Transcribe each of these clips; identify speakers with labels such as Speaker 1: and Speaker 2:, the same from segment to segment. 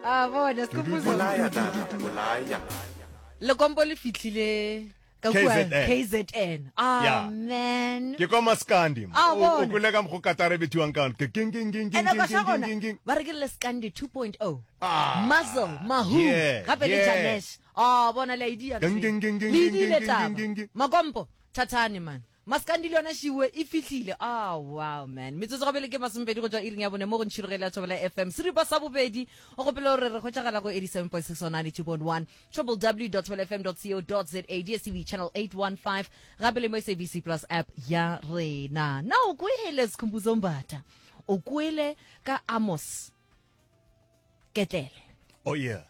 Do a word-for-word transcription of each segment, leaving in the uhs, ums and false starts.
Speaker 1: A bona Skhumbuzo.
Speaker 2: Bolaya dlala, bolaya.
Speaker 1: Lekompo le fihlile ka kua
Speaker 3: K Z N.
Speaker 1: K Z N. Ah
Speaker 3: Yeah.
Speaker 1: man.
Speaker 3: Ke kwa maskandi.
Speaker 1: Ah,
Speaker 3: O
Speaker 1: bona.
Speaker 3: o kwele ka mokgo katara e bethiwang ka gona. Ke king king king king
Speaker 1: Ene
Speaker 3: king
Speaker 1: ka sha
Speaker 3: king
Speaker 1: gona
Speaker 3: king king.
Speaker 1: ba re ke le Skandi two point oh.
Speaker 3: Ah.
Speaker 1: Muzzle, Mahu,
Speaker 3: Yeah,
Speaker 1: gape le
Speaker 3: yeah.
Speaker 1: Janesh. Ah, bona le idea.
Speaker 3: Ging, ging, ging, ging,
Speaker 1: Le
Speaker 3: ging,
Speaker 1: idile
Speaker 3: ging,
Speaker 1: taba.
Speaker 3: ging, ging, ging.
Speaker 1: Makompo, thathane man. Maskandi le yona šiwe e fihlile. Ah, wow man. Metsotso ga bele ke masomepedi go tšwa iring ya bone mo go ntšhirogele ya Thobela F M. Seripa sa bobedi o gopela gore re hwetšagala go eighty-seven point six on ninety-two point one, W W W dot thobela F M dot co dot za, D S T V channel eight one five, gape le mo S A B C Plus app ya rena. Na o kwele, Skhumbuzo Mbatha? O kwele ka Amos Ketlele?
Speaker 3: Oh yeah.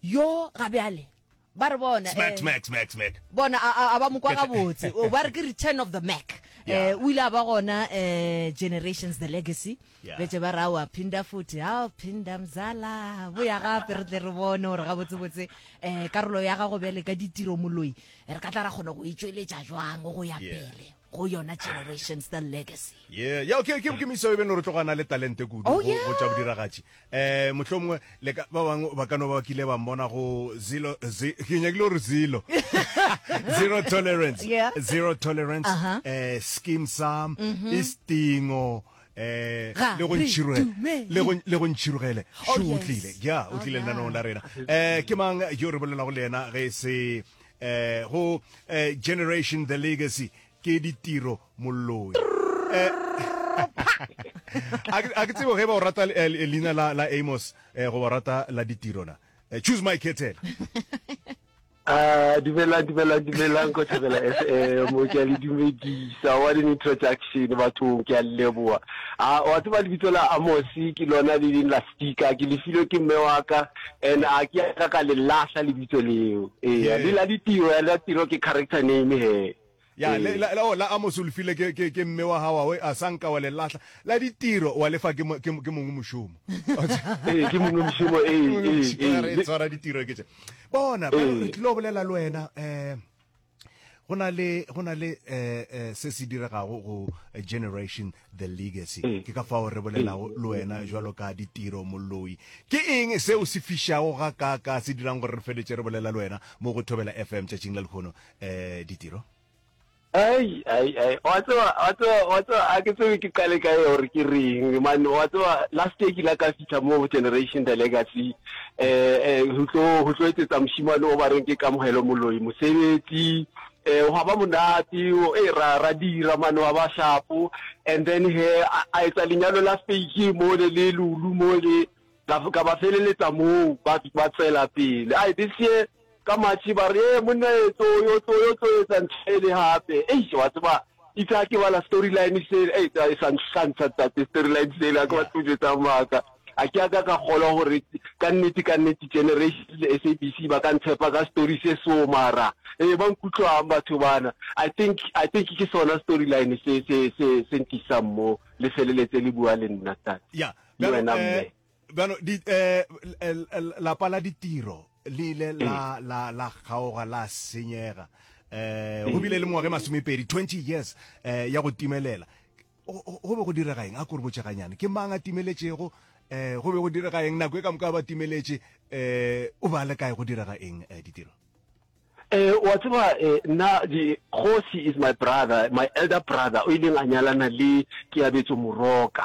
Speaker 1: Yo ga bjale ba re bona
Speaker 3: Smack
Speaker 1: eh,
Speaker 3: smack smack smack.
Speaker 1: Bona a a- a ba mo kwa gabotse. O ba re ke return of the Mac.
Speaker 3: Yeah.
Speaker 1: eh o ile a ba gona eh Generations The Legacy.
Speaker 3: Yeah.
Speaker 1: Betse ba ra wa phinda futhi, ha phinda mzala, boya gape re tle re bone gore gabotsebotse eh karolo ya gago bjale ka Ditiro Moloi re ka tla ra kgona go itsweletša jwang go ya
Speaker 3: Yeah.
Speaker 1: pele go yona Generations The Legacy.
Speaker 3: Yeah, ya ke ke ke miso e beng re tlogana le talente kudu
Speaker 1: Oh,
Speaker 3: go
Speaker 1: yeah.
Speaker 3: go tša bodiragatši. Eh mohlomongwe le ka ba bangwe ba ka no ba kile ba mbona go zero zi, ke nyakile gore zero zero tolerance.
Speaker 1: Yeah.
Speaker 3: Zero Tolerance,
Speaker 1: Uh-huh.
Speaker 3: eh Skeem Saam, Istingo, eh
Speaker 1: Ga
Speaker 3: le go
Speaker 1: re
Speaker 3: ntšhirogele
Speaker 1: dumele.
Speaker 3: le go le go ntšhirogele.
Speaker 1: Oh,
Speaker 3: Shu o
Speaker 1: yes.
Speaker 3: tlile. Ya, o
Speaker 1: Oh,
Speaker 3: tlile
Speaker 1: yeah.
Speaker 3: lenanong la rena. Eh ke mang yo re bolelago le yena ge se eh go eh, Generation The Legacy? Ke Ditiro Moloi. Eh, a ke a ke tsebe ge ba o rata eh, leina la la Amos eh, goba o rata la Ditiro na. Eh, choose my kettle.
Speaker 4: Ah, dumelang, dumelang, dumelang ko Thobela F M. Ke a le dumedisa. What an introduction, bathong, ke a le leboha. Ah, wa tseba, lebitso la Amos ke lona le leng la sticker, ke le filwe ke mme wa ka and a ke a ka ka le lahla lebitso leo. Ee,
Speaker 3: Yeah.
Speaker 4: le la Ditiro, ya la Tiro ke character name he.
Speaker 3: Ya, le
Speaker 4: Ee.
Speaker 3: la la, oh, la Amos o le file ke ke ke mme wa gago, a sanka wa le lahla. La Ditiro wa lefa ke mo- ke ke mongwe mošomo.
Speaker 4: Ee, ke mongwe mošomo, ee, ee, ee.
Speaker 3: Re tshwara ditiro ke tše. Bona,
Speaker 4: Ee.
Speaker 3: re tlilo bolela le wena eh go na le go na le eh eh, se se diregago go eh, Generation The Legacy.
Speaker 4: Ee.
Speaker 3: Ke ka fao re bolelago le wena jwalo ka Ditiro Moloi. Ke eng seo se fišago ga ka ka se dirang gore re feletse re bolela le wena mo go Thobela F M tšatšing la lekgono, eh Ditiro?
Speaker 4: Ai, ai, ai, wa tseba, wa tseba, wa tseba, a ke tsebe ke qale kae gore ke reng, man. Wa tseba, last year ke la ka fitlha mo Generation The Legacy, eh eh ho tlo ho tlo etsetsa moshimane o ba reng ke Kamohelo Moloi mosebetsi. eh wa ba monate o e ra ra dira man, wa ba sharp. And then he a a etsa lenyalo la fake mo le le Lulu mo le ka ka ba feleletsa moo ba ba tswela pele. Ai, this year ka March ba re e monna etso yo tlo yo tlo etsa ntho e le hape. Eish, wa tseba, itse ha ke bala storyline se e e sa nhlantsha tate, storyline se le a ke ba tlo jwetsa maaka, a ke a ka ka kgolwa gore ka nnete ka nnete Generation le S A B C ba ka ntshepa ka story se so. Mara ee, ba nkutlwang batho bana, i think i think ke sona storyline se se se se nkisang mo le feleletse le bua le nna, tate.
Speaker 3: Ya.
Speaker 4: Le
Speaker 3: Bjalo,
Speaker 4: wena
Speaker 3: eh,
Speaker 4: mme.
Speaker 3: Bjalo di eh l- l- lapa la Ditiro le ile la la la kgaoga, la senyega. eh go bile le mengwaga e masomepedi, twenty years eh ya go timelela. Go go be go direga eng? A ko re botšeganyane, ke mang a timeletšego? eh go be go direga eng nako e ka moka ba timeletše? eh o ba le kae, go direga eng, eh, Ditiro?
Speaker 4: Eh wa tseba, eh nna di Kgosi is my brother, my elder brother o ileng a nyalana le Keabetso Moroka.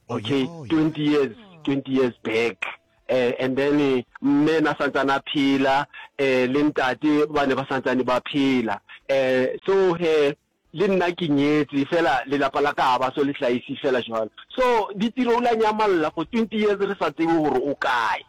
Speaker 3: Oh,
Speaker 4: Okay,
Speaker 3: yeah, oh, yeah.
Speaker 4: twenty years, twenty years back. Eh and then eh, mme na santsane a phela, eh le ntate ba ne ba santsane ba phela. Eh so he le nna ke nyetse fela, lelapa la ka ha ba so le hlaisi fela jwalo. So Ditiro o la nyamalla for twenty years, re sa tsebe hore o kae.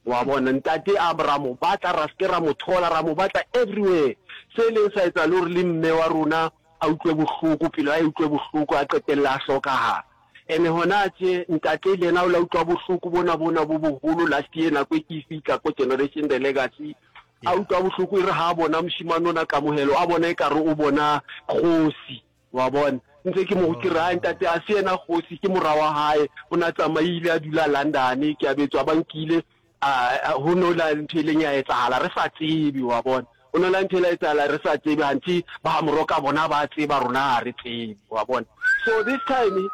Speaker 4: Wa bona, ntate a ra mo batla, ra se ra mo thola, ra mo batla everywhere. Se leng sa etsa le hore le mme wa rona a utlwe bohloko, pelo ya utlwe bohloko, a qetella a hlokahala. Ene hona tje ntate le yena o la utlwa bohloko bona bona bo boholo. Last year nako e ke fihla ko Generation The Legacy, a utlwa bohloko, e re ha bona moshimane ona Kamohelo, a bona ekare o bona kgosi. Wa bona, ntse ke mo ke re, "Ai ntate, a se yena kgosi, ke mora wa hae, o na tsamaile a dula London, ke a betswa ba nkile a ho no la ntho e leng ya etsahala re sa tsebe." Wa bona, o no la ntho e la etsahala re sa tsebe, hanthe ba Moroka bona ba tseba, rona ha re tsebe. Wa bona, so this time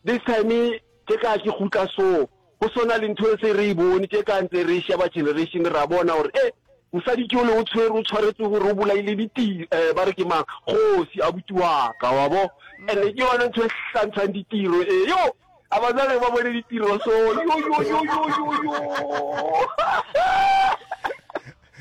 Speaker 4: this time ke ka ke gutla so Go swana le ntho e se re e bone tše ka ntse re sheba generation ra bona gore e mosadi ke ole o tshwere o tshwaretswe gore o bolaile ditiro eh, ba re ke mang kgosi abuti wa ka wa bo and ke yone ntho e hlantshang ditiro e yo a ba jale ba bone ditiro so yo yo yo yo yo yo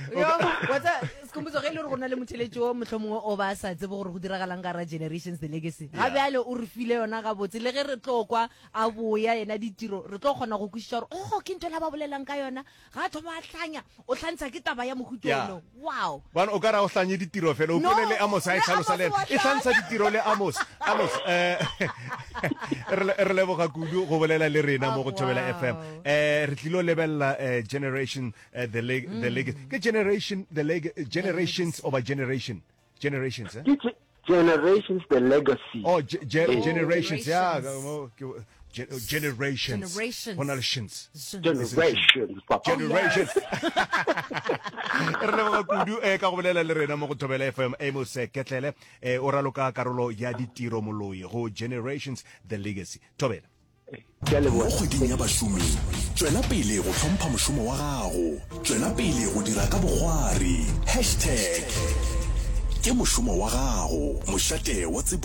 Speaker 1: Yo, wa tseba Sekhumbuzo ge e le gore go na le motheletši o mohlomongwe o ba sa tsebe gore go diragalang ka ra Generations the Legacy. Ga bjale o re file yona gabotse le ge re tlo kwa a boya yena ditiro re tlo kgona go kwešiša gore oh ke ntho la ba bolelang ka yona ga a thoma a hlanya o hlantsha ke taba ya mohuta
Speaker 3: Yeah.
Speaker 1: ono. Wow.
Speaker 3: Bana o ka ra o hlanye ditiro fela o
Speaker 1: No,
Speaker 3: kwele le Amos a e
Speaker 1: le
Speaker 3: hlalosa
Speaker 1: Amos
Speaker 3: le ena.
Speaker 1: wa
Speaker 3: E hlantsha
Speaker 1: hlanya.
Speaker 3: ditiro le Amos. Amos eh re le- re leboga kudu go bolela le rena mo go Thobela
Speaker 1: Oh,
Speaker 3: F M.
Speaker 1: wow.
Speaker 3: Eh re tlilo lebelela eh, generation eh, the leg the leg ke generation the leg generations over generation generations eh?
Speaker 4: Ke ge- generations the legacy.
Speaker 3: Oh, ge- ge-
Speaker 1: Oh,
Speaker 3: generations, yeah,
Speaker 1: generations.
Speaker 3: mo- ke- ge- oh, generations.
Speaker 1: Generations.
Speaker 3: Go na le shins.
Speaker 4: Generations papa.
Speaker 3: Generations. Re leboga kudu eh, ka go bolela le rena mo go Thobela F M Amos eh, Ketlele eh, o raloka karolo ya ditiro moloi go Generations the Legacy. Thobela.
Speaker 4: Ke a
Speaker 2: Mo
Speaker 4: leboga.
Speaker 2: kgweding ya bašomi, tšwela pele go hlompha mošomo wa gago. Tšwela pele go dira ka bokgwari. Hashtag ke mošomo wa gago. Mošate wa tsebo.